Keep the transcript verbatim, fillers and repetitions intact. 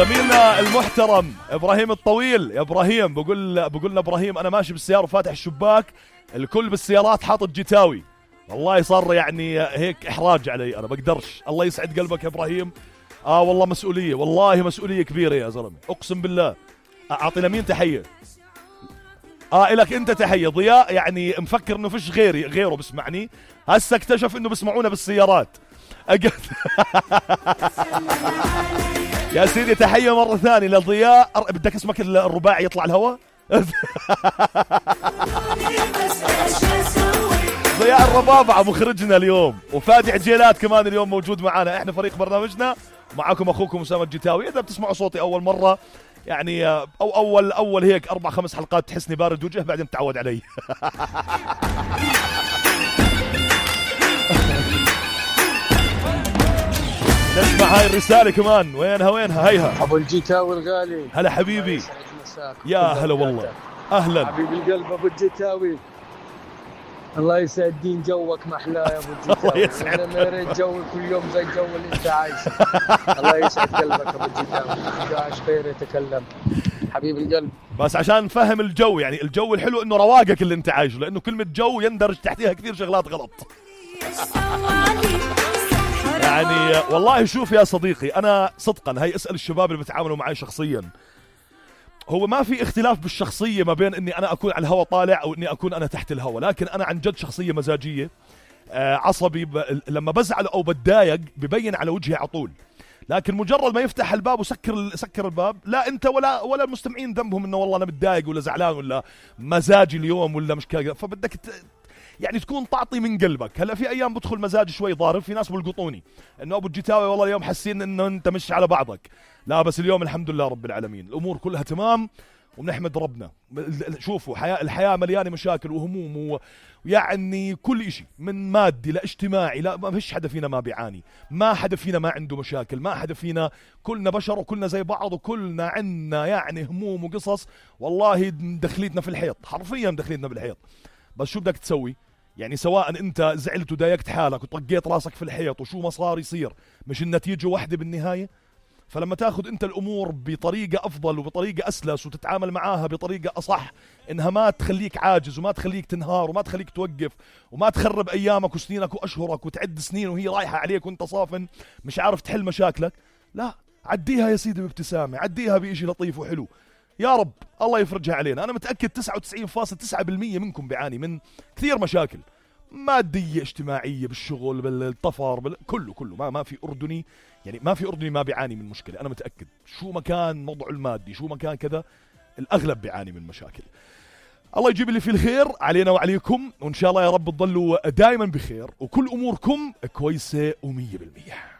زميلنا المحترم ابراهيم الطويل. يا ابراهيم بقول بقولنا ابراهيم انا ماشي بالسياره وفاتح الشباك، الكل بالسيارات حاطط جتاوي، والله صار يعني هيك احراج علي، انا بقدرش. الله يسعد قلبك يا ابراهيم. اه والله مسؤوليه، والله مسؤوليه كبيره يا زلمه، اقسم بالله. اعطي لمين تحيه؟ اه الك انت تحيه. ضياء يعني مفكر انه فيش غيري غيره بسمعني، هسه اكتشف انه بسمعونا بالسيارات. أجد يا سيدي تحيه مره ثانيه لضياء. بدك اسمك الرباعي يطلع الهواء؟ ضياء الربابعة مخرجنا اليوم، وفادي عجيلات كمان اليوم موجود معنا. احنا فريق برنامجنا، معكم اخوكم اسامه الجتاوي. اذا بتسمعوا صوتي اول مره يعني او اول اول هيك اربع خمس حلقات تحسني بارد وجه، بعدين تعود علي. نسمع هاي الرساله كمان. وينها وينها هيها ابو الجتاوي الغالي. هلا حبيبي. يا هلا والله. اهلا حبيبي القلب ابو الجتاوي. الله يسعد دين جوك محلاه يا ابو الجتاوي. الله يسعد. انا ما ريت جوي كل يوم زي الجو اللي انت عايشه. الله يسعد قلبك ابو الجتاوي. جاش خير يتكلم حبيبي القلب. بس عشان نفهم الجو، يعني الجو الحلو انه رواقك اللي انت عايشه، لانه كلمه جو يندرج تحتها كثير شغلات غلط. يعني والله شوف يا صديقي، انا صدقا هي اسال الشباب اللي بتعاملوا معي شخصيا، هو ما في اختلاف بالشخصية ما بين اني انا اكون على الهواء طالع او اني اكون انا تحت الهواء، لكن انا عن جد شخصية مزاجية. آه عصبي، ب... لما بزعل او بتضايق ببين على وجهي على طول، لكن مجرد ما يفتح الباب وسكر سكر الباب، لا انت ولا ولا المستمعين ذنبهم انه والله انا متضايق ولا زعلان ولا مزاجي اليوم ولا مش كذا، فبدك ت... يعني تكون تعطي من قلبك. هلا في ايام بدخل مزاجي شوي ضارب، في ناس بلقطوني انه ابو الجتاوي والله اليوم حاسين انه انت مش على بعضك، لا بس اليوم الحمد لله رب العالمين الامور كلها تمام وبنحمد ربنا. شوفوا حياة الحياة مليانة مشاكل وهموم ويعني كل اشي من مادي لاجتماعي، لا ما فيش حدا فينا ما بيعاني، ما حدا فينا ما عنده مشاكل، ما حدا فينا، كلنا بشر وكلنا زي بعض وكلنا عنا يعني هموم وقصص، والله دخليتنا في الحيط، حرفيا دخليتنا بالحيط. بس شو بدك تسوي؟ يعني سواء انت زعلت وضايقت حالك وطقيت راسك في الحيط وشو ما صار يصير، مش النتيجة واحدة بالنهاية؟ فلما تاخذ انت الامور بطريقة افضل وبطريقة اسلس وتتعامل معاها بطريقة اصح، انها ما تخليك عاجز وما تخليك تنهار وما تخليك توقف وما تخرب ايامك وسنينك واشهرك وتعد سنين وهي رايحة عليك وانت صافن مش عارف تحل مشاكلك، لا عديها يا سيدي بابتسامة، عديها بإشي لطيف وحلو. يا رب الله يفرجها علينا. أنا متأكد تسعة وتسعين فاصلة تسعة بالمية منكم بيعاني من كثير مشاكل مادية اجتماعية بالشغل بالطفر بال... كله كله ما ما في أردني، يعني ما في أردني ما بيعاني من مشكلة. أنا متأكد شو مكان موضوع المادي شو مكان كذا الأغلب بيعاني من مشاكل. الله يجيب اللي فيه الخير علينا وعليكم، وإن شاء الله يا رب تضلوا دائما بخير وكل أموركم كويسة ومية بالمية.